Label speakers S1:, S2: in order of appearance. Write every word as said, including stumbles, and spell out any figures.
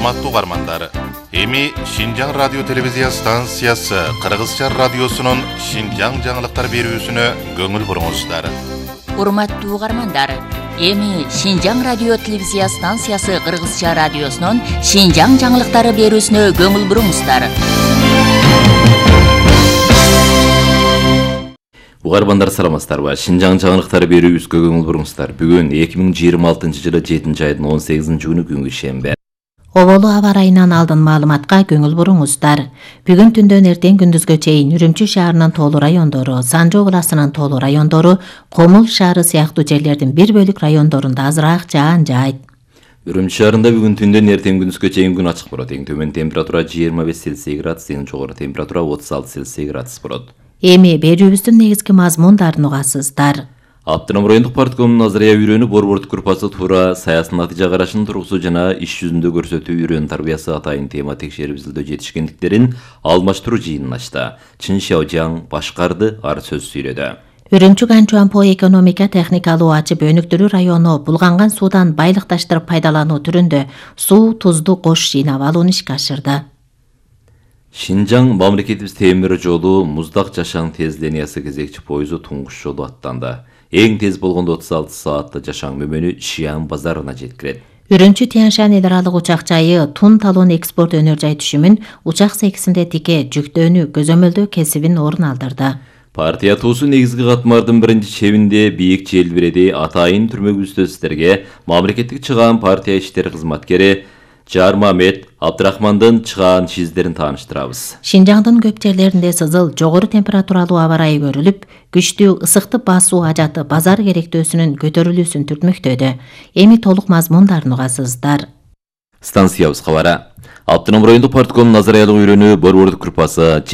S1: Урматтуу угармандар, эми Шинжаң радио телевизия станциясы Кыргызча радиосунун Шинжаң жаңылыктар берүүсүнө көңүл буруңуздар.
S2: Урматтуу угармандар, эми Шинжаң радио телевизия станциясы Кыргызча радиосунун Шинжаң жаңылыктары берүүсүнө көңүл буруңуздар.
S3: Угармандар саламатсыздарбы? Шинжаң жаңылыктары берүүбүзгө көңүл буруңуздар. Бүгүн эки миң жыйырма алтынчы жылы жетинчи айдын он сегизинчи күнү күнгү шембе.
S4: Оболу аба ырайынан алдын маалыматка көңүл буруңуздар. Бүгүн түндөн эртең күндүзгө чейин Үрүмчү шаарынын тоолуу райондору, Санжы областынын тоолуу райондору, Комул шаары сыяктуу жерлердин бир бөлүк райондорунда азыраак жаан жаайт.
S3: Үрүмчү шаарында бүгүн түндөн эртең күндүзгө чейин күн ачык болот. Эң төмөн температура жыйырма беш Цельсий градус, эң жогору температура отуз алты Цельсий градус болот.
S4: Эми берүүбүздүн негизги мазмундарын угасыздар.
S3: Автоном райондук парткомдун Назария үйрөнү борбордук группасы туура саясий натыйжа карашын тургузуу жана иш жүзүндө көрсөтүү үйрөн тарбиясы атайын тема текшерип изилдөө жетишкендиктерин алмаштыруу жыйынын ачты. Чын Шаожаң башкарды, ар сөз сүйлөдү.
S4: Үрүмчү Ганчуанпо экономика техникалуу ачып өнүктүрүү району булганган суудан байлыкташтырып пайдалануу түрүндө суу, тузду кош жыйнап алууну ишке ашырды.
S3: Шинжаң мамлекетибиз темир жолу Муздак Жашаң тез линиясы кезекчи поезу туңгуш жолу аттанды. Эң тез болгондо отуз алты саатты Жашаң мөмөнү Шиан базарына жеткирет.
S4: Үрүмчү Тянь-Шань эл аралык учак жайы тун талон экспорт өнөр жай түшүмүн учак секисинде тике жүктөөнү көзөмөлдөө кесибин орун алдырды.
S3: Партия туусу негизги катмардын биринчи чебинде бийик желбиреди атайын түрмөгүбүздө сиздерге мамлекеттик чыгаан партия иштери кызматкери Жармамет Абдрахмандын чыгаан чиздерин тааныштырабыз.
S4: Шинжаңдын көп жерлеринде сызыл, жогору температуралуу аба ырайы көрүлүп, күчтүү ысыктык басуу ажаты базар керектөөсүнүн көтөрүлүүсүн түртмөктөдү. Эми толук мазмундарын угасыздар.
S3: Станциябыз кабары. Автоном райондук парткомдун Назариялык үйрөнү борбордук группасы